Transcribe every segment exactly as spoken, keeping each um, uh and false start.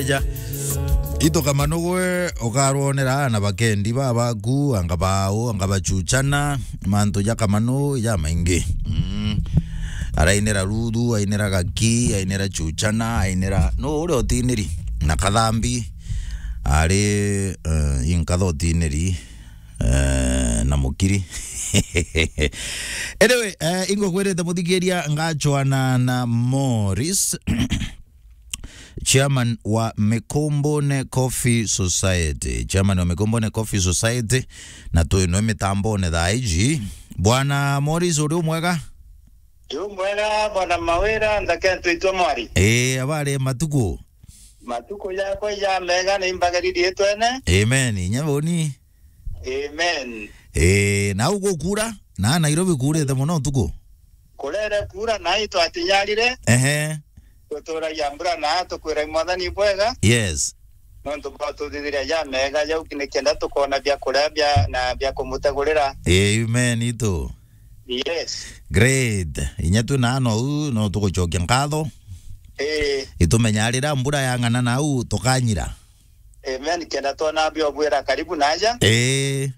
Ja. Ito Kamanu gwe ukarwonera na bakendi babaku, anga bao, anga bachuchana, mantu ja Kamanu ja maingi. Mm. Arainira Ruthu, ainira Gaki, ainira Chuchana, ainira no uri utiniri na Kathambi. Ari, eh, inkatha utiniri, eh, na Mukiri. Anyway, eh, ingo kwirite muthikiria ngachwana na Morris. Chairman wa Mikombone Coffee Society. Chairman wa Mikombone Coffee Society, na twinwe mitambone thaa iji. Bwana Morris, uri umwega? Ndi umwega, Bwana Mawira, nthake ntwitwe mwari. Ii, abari matuku? Matuku jakwa ja mega ni mbagaririe twene. Amen. Inya boni. Amen. Ii, na ugukura? Na Nairobi kurite muno utuku? Kurere kura na itwatinyarire. Ehe. Tuturagia mbura na tukwira Mwathani bwega. Yes. Nontu bwa tuthithiria ja mega jau, nikenda tukona bia kuria bia, na bia kumutegurira. Amen, itu. Yes. Great. Inya tu na no u, no tugucokia nkatho. Ii. Itumenya rira mbura yang'ana nau tukanyira. Amen. Kenda twona bia ubwira karibu naja. Ii.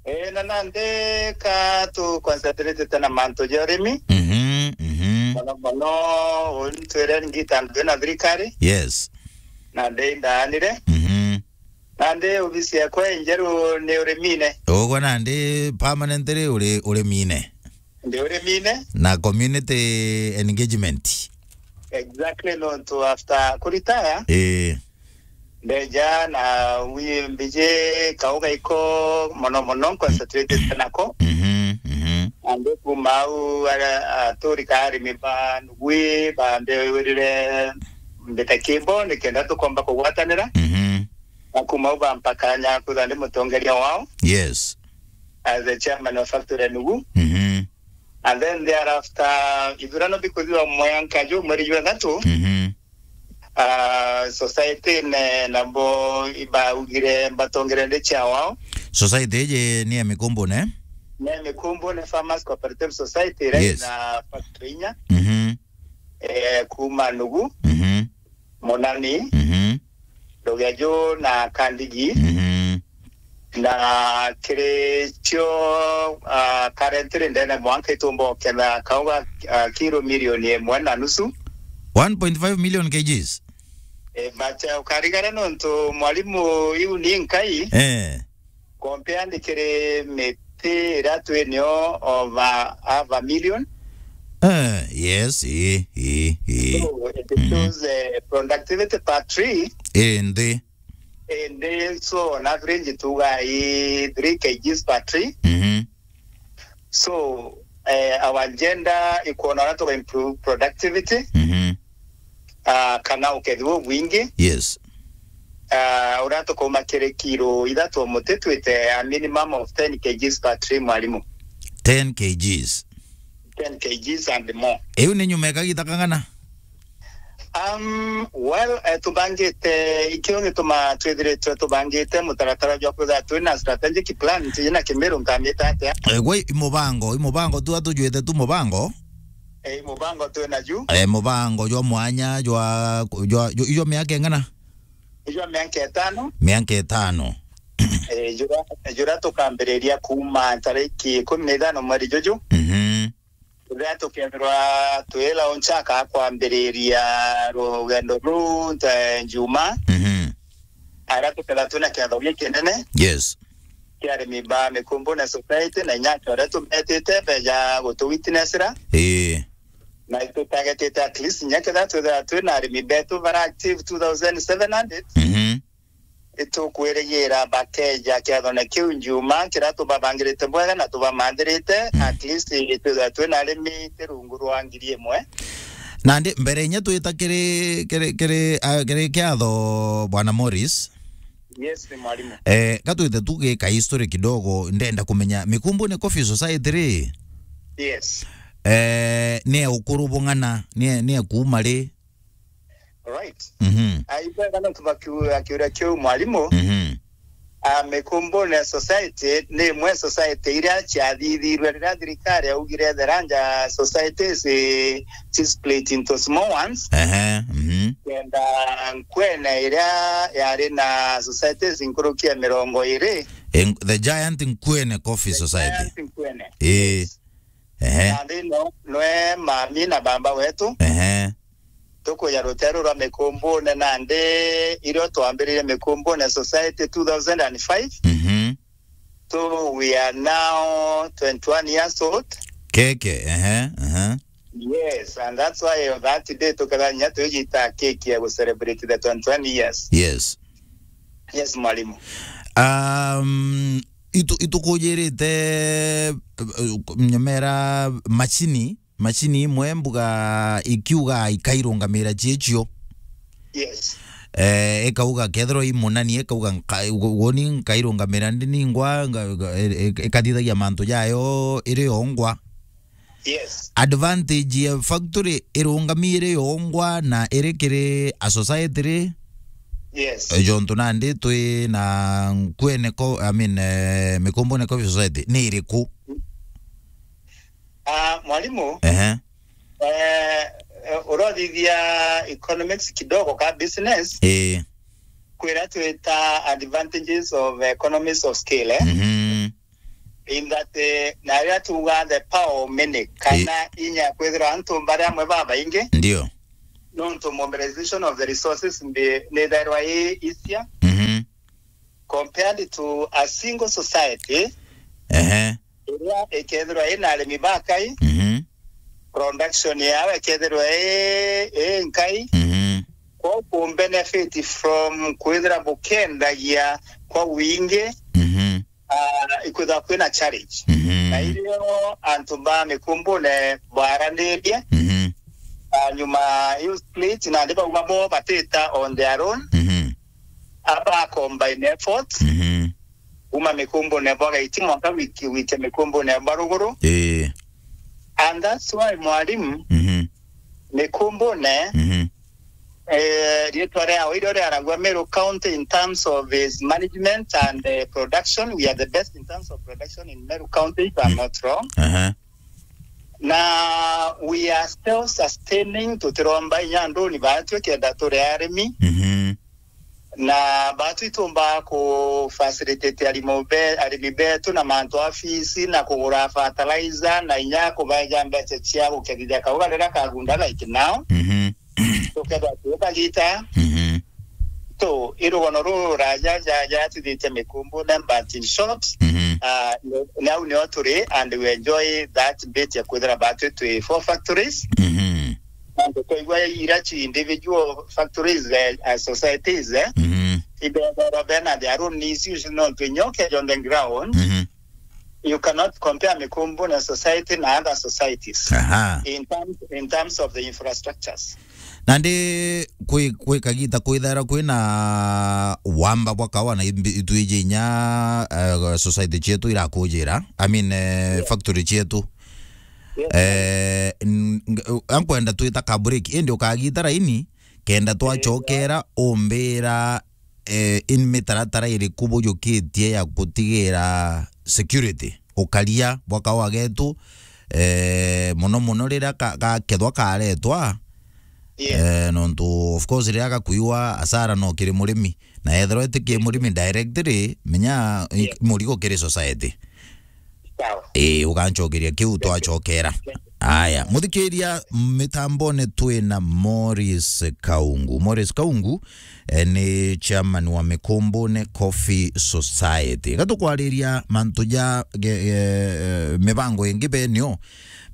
Ii, na nandi ka tu concentrate na mantu ja urimi. Mhm, mhm. Mono mono, untwire ngita ndwi na thirikari. Yes. Nandi ndaanire. Mhm. Nandi ofisi yakwa injeru ni urimine. Ugwe nandi permanently uri urimine? Ndi urimine. Na community engagement? Exactly, nontu after kuretire, ii, ndeja na wi mbiji kauga iko mono mono, concentrated nako. Mhm, mhm. Nandi kuma au, ara, aturi ka arimi ba nugui, bambirire mbita kimbo, nikenda tukomba kugwatanira. Mhm. Na kuma au bampa kanya kwithwa ndi mutongeria wao. Yes. As the chairman of factory ya nugu. Mhm. And then thereafter, ithurano bikuthirwa mwanka ju mweri jwa ithatu. Mhm. Ah, society ne, nabo ibaugire mbatongere ndi chair wao. Society iji ni ya Mikombone? Ni ya Mikombone Farmers Cooperative Society, right? Yes. Na factory inya. Mhm. Eh, kuma nugu. Mhm. Munani. Mhm. Ndugia ju na Kandigi. Mhm. Na kiri cio, ah, currently ndene mwanka itumba uketha kauga, ah, kiro milioni imwe na nusu. One point five million kgs? Eh, but, ah, ukarigara nontu mwalimu iu ni nkai. Eh. Compare ndi kiri miti iria twinio over half a million. Eh, yes, ii, ii, ii. So, it shows, eh, productivity per tree. Ii, nthi. Indi, so, on average, tuga i three kgs per tree. Mhm. So, eh, our agenda ikwona uria tuga improve productivity. Mhm. Ah, kana ukethi bubwingi. Yes. Ah, uria tukauma kiri kiro ithatu o muti twite a minimum of ten kgs per tree, mwalimu. Ten kgs? Ten kgs and more. Iu ni nyuma ya kagita kang'ana? Um, well, eh, tubangite, ikio gituma twithiritwe tubangite mutaratara jwa kwithira twina strategic plan, twina Kimiru nkamita atia? Eh, gwe i mubango, i mubango tu atujwite tu mubango? Eh, i mubango twina ju. Eh, mubango jwa mwanya, jwa, jwa, jwa, jwa miaka ing'ana? Jwa miaka itano. Miaka itano. Eh, jura, jura tukambiriria kuma tariki ikumi na ithano mweri juju. Mhm. Riria tukethirwa twi launch aka kwambiriria rugendo ruu nte Njuma. Mhm. Aria tukethirwa twina kiatho gikinene. Yes. Kia arimi ba Mikumbune Society na inya acio aria tumetite beja gutu witnessira. Ii. Na itutargetite at least inya kethirwa twithirwa twina arimi betu bara active two thousand seven hundred. Mhm. Itukwirigira bakeja kiathone kiu Njuma, kiria tubabangirite bwega na tubamanthirite, mm, at least itwithwa twina arimi ti rungu rwa ngiri imwe. Nandi mbere inya twita kiri, kiri, kiri, ah, kiri kiatho, Bwana Morris. Yes, ni mwalimu. Eh, ka twite tu gika history kidogo, ndenda kumenya Mikumbune Coffee Society ri? Yes. Eh, ni ya ukuru bung'ana, ni ya, ni ya kuuma ri? Right. Mhm. Ah, ibwega no tubakiu-, akiuria kiu mwalimu. Mhm. Ah, Mikumbune Society ni imwe society iria ciathithirwe riria thirikari yaugire the larger societies, eh, ci split into small ones. Ehe, mhm. Nkwenda Nkwene iria yari na societies nkuruki ya mirongo iri. In, the Giant Nkwene Coffee Society. Giant Nkwene. Ii. Yes. Ehe. Nandi no, nwe mami na baba wetu. Ehe. Tukuja ruteru rwa Mikumbune nandi irio twambiririe Mikumbune Society two thousand and five. Mhm. So we are now twenty-one years old. Keke, ehe, ehe. Yes, and that's why on that day tukethira nya tujita keki ya gu celebrate the twenty-one years. Yes. Yes, mwalimu. Um, itu, itukujirite, eh, nyomera macini, macini imwe mbuga ikiuga ikairungamira ciecio. Yes. Eh, ikauga kethirwa i munani, ikauga nka-, woni nkairungamira ndi ningwa, nga-, nga-, i-, i-, ikathithagia mantu jayo iri yongwa. Yes. Advantage ya factory irungami iri yongwa na iri kiri a society ri? Yes. Eh, jontu nandi twi na Nkwene co-, I mean, eh, Mikumbune Coffee Society ni iriku? Ah, mwalimu, ehe, eh, eh, urothithia economics kidogo ka business. Ii. Kwira twita advantages of economies of scale, eh? Mhm. In that, eh, na riria tuga the power of many, kana, ii, inya kwithirwa antu bari amwe babaingi. Ndio. Nontu mobilization of the resources mbi-, nithairwa i easier. Mhm. Compared to a single society, ehe, iria ikethirwa ina arimi bakai, mhm, production yao ikethirwa i, i nkai, mhm, kwa ku benefit from kwithira bukendagia kwa wingi, mhm, ah, ikwithirwa kwina challenge. Mhm. Na irio antu ba Mikumbune baranirie, mhm, ah, nyuma iu split, nandi bauga bo batita on their own. Mhm. Aba combine efforts. Mhm. Kuma Mikumbune bwa gaiti mwanka wiki, wikia Mikumbune bwa ruguru. Ii. And that's why, mwalimu, mhm, Mikumbune, mhm, eh, riitwa riao irio riaragua Meru County in terms of its management and, eh, production. We are the best in terms of production in Meru County, if I'm, mm, not wrong. Aha. Na we are self-sustaining, tutiromba inya nduni baatwi kenda turi arimi. Mhm. Na baatwi tumba ku facilitate arimi be-, arimi betu na mantu a fees na kugura fertilizer na inya kubaeja mbeca cia gukethithia kauga riria kagunda like now. Mhm. Tukethwa tuikagita. Mhm. Tu, i rugono ruru ruraja ja, jatwithitie Mikumbune, but in short, mhm, ah, ni, ni au nio turi, and we enjoy that bit ya kwithira batwi twi four factories. Mhm. Na twaigua ira ci individual factories, eh, eh, societies, eh, mhm, ibethagwa bena their own issues, nontu inya ukeja on the ground, mhm, you cannot compare Mikumbune society na other societies, aha, in terms, in terms of the infrastructures. Nandi kwi, kwi kagita kwithaira kwina wamba bwa kawa na imbi-, itwiji inya, eh, society cietu irakujira, I mean, eh, yeah, factory cietu. Yes. Eh, n-, ng-, ankwenda twita ka break, indi ukagita raini, kenda, eh, twacokera umbira, eh, in mitaratara iriku bujukitie ya gutigira security, ukaria bwa kawa getu, eh, muno muno riria ka-, gakethwa karetwa, yes, eh, nontu of course riria gakuiwa, asara no kiri murimi, na ethirwa iti ki murimi directly, menya i-, yes, murigo kiri society. Sawa. Ii, ugancokeria kiu twacokera. Aya, muthikiria, mitambone twina Morris Kaungu. Morris Kaungu, eh, ni chairman wa Mikumbune Coffee Society. Gatukwariria mantu ja ge-, ge-, eh, mibango ingi benio,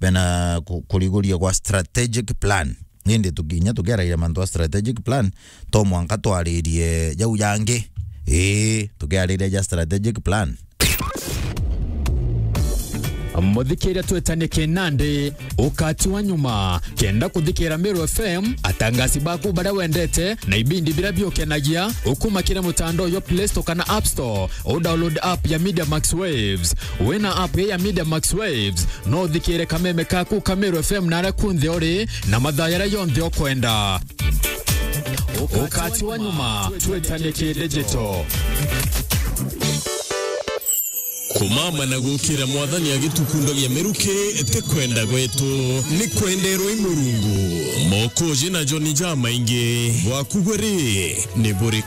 bena ku-, kuriguria gwa strategic plan. Indi tukinya tukiaragia mantu a strategic plan, to mwanka twaririe jau jangi. Ii, tukiariria ja strategic plan. Muthikiria, twetanie kinandi, ukati wa nyuma. Kenda kuthikira Meru F M, atangasi baku baria wendete, na ibindi biria biukenagia, ukuma kiri mutandao jwa Play Store kana App Store, u download app ya Media Max Waves. Wina app ya Media Max Waves, no uthikire kameme kaku ka Meru F M naria kunthe uri, na mathaa jaria jonthe ukwenda. Ukati wa nyuma, twetanie ki digital. Mama na gukira Mwathani agitukundagia miruki, ti kwenda gwetu, ni kwenderwa i Murungu. Mokoji na joni jamaingi, bwaku gwe ri, ni buri